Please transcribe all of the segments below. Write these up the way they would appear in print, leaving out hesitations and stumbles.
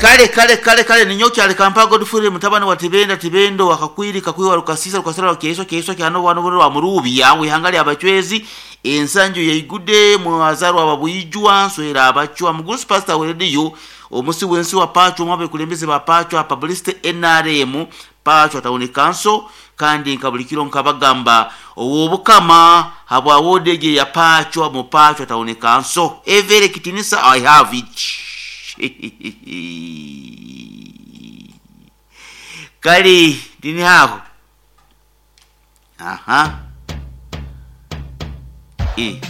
Kale kale kale kale ninyowe kyali Kampala Godfrey mutabani wa Tibenda Tibendo wa Kakwiri Kakwiwa Rukasiisa Rukasira Rwa Kyeiswa Kyeiswa kya Nobwanobone rwa Muruubya w'eihanga lya Bachwezi ensanju yaigude mwazarwa Babwijwa Nswera Abachwa Mugurusi Pastor we Radio omusi w'ensi wa Pachwa omwe abekulembeze ba Pachwa Publicity NRM Pachwa Town Council kandi nka buli kiro nkabagamba ow'Obukama habwa ward egi eya Pachwa mu Pachwa Town Council every kitinisa I have it. Kale ndini aho. Aha. E.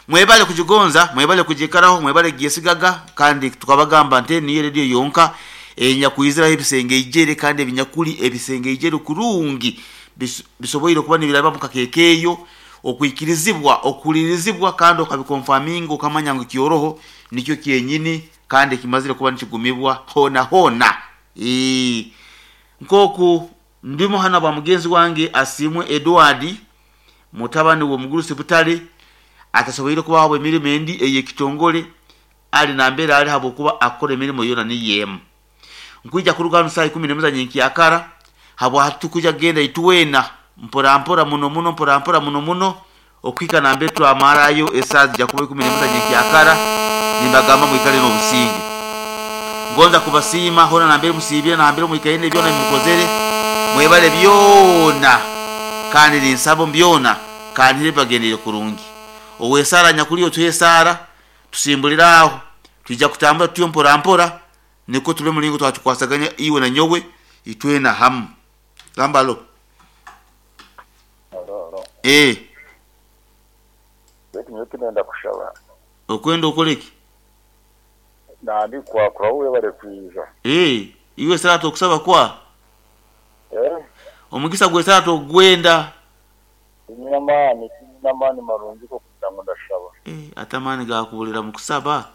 Mwebale kugigonza, mwebale kugikaraho, mwebale kugyesigaga kandi tukabagamba nti niyo radio yonka enyakwiziraho ebisengeijere kandi ebinyakuli ebisengeijere kurungi bisoboire kuba nibiraba mukakekeeyo okwikirizibwa okuhulirizibwa kandi okabikonfaminga okamanya ngu kyoroho nikyo kyenyini kandi kimazire kuba nikigumibwa hona hona. Nkoku ndimu hana bwa mugenzi wange Asiimwe Edward mutabani w'omugurusi Butare atasoboire kubaho emirimo endi ey'ekitongore ali nambere ali habwokuba akora emirimo yoona niyo emu. Nkwija kuruga hanu saaha ikumi n'emwe za nyenkyakara habwa tukwija kugenda itwena mpora mpora muno muno mpora mpora muno muno okuhika nambere twamarayo esaaha zija kuba 11 za nyenkyakara nimbagamba mwikale n'obusinge. Ngonza kubasiima hoona nambere musiibire nambere mwikaire n'ebyona ebimukozere mwebale byona kandi ninsaba omu byona kandi bibagendere kurungi. Ow'esaara nyakuli otuhe esaara tusimbulire aho twija kutambura tutyo mpora mpora nikwo turebe omuringo twatukwasaganya iwe na nyowe itwena hamu. Gamba alo. Alo, alo. Ee. Beitu nyowe tindenda kushaba. Okwenda okore ki? Nandi kwakura webare kwija. Ee, iwe esaara tokusaba kwa? Eh? Omugisa gw'esaara tokugwenda. Tinyine amaani, tinyine amaani marungi g'okugira ngu ndashaba. Eh, ate amaani gaakuburira mu kusaba?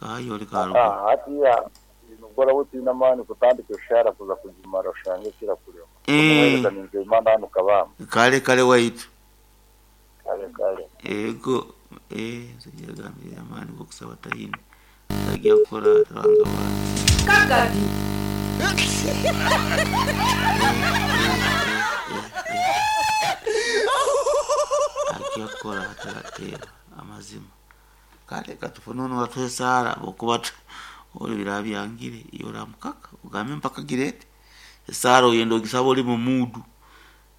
Kahayo ori karuga. Ah, hatiya nubwo oraba otiine amaani kutandika eshaara kuza kugimara oshange kirakurema. Eh. Omuheereza ni Nzeyimana hanu Kabamba. Kale kale waitu. Kale kale. Ego, eh, nze yagambire amaani g'okusaba taine. Tagiya kukora atabanza banza. Kagadi. Agiya kukora atarateeba amazima. Kale katufune onu atuhe esaara habwokuba ori biraba byangire iwe oramukaka ogambe mpaka girete. Esaara oyenda ogisaba ori mu muudu.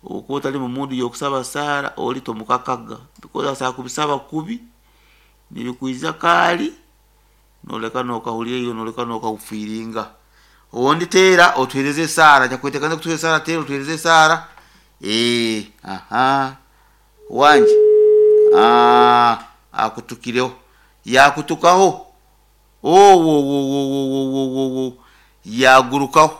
Owokuba otari mu muudu y'okusaba saara ori tomukakaga because asobola kubisaba kubi nibikwija kaari nooleka nookahurira iwe nooleka nookahufiiringa. Obundi teera otuheereze esaara nyakuteekaniza kutuha esaara teera otuheereze esaara ee aha wangye ah, akutukireho yaakutukaho owowowowowowowo yaagurukaho.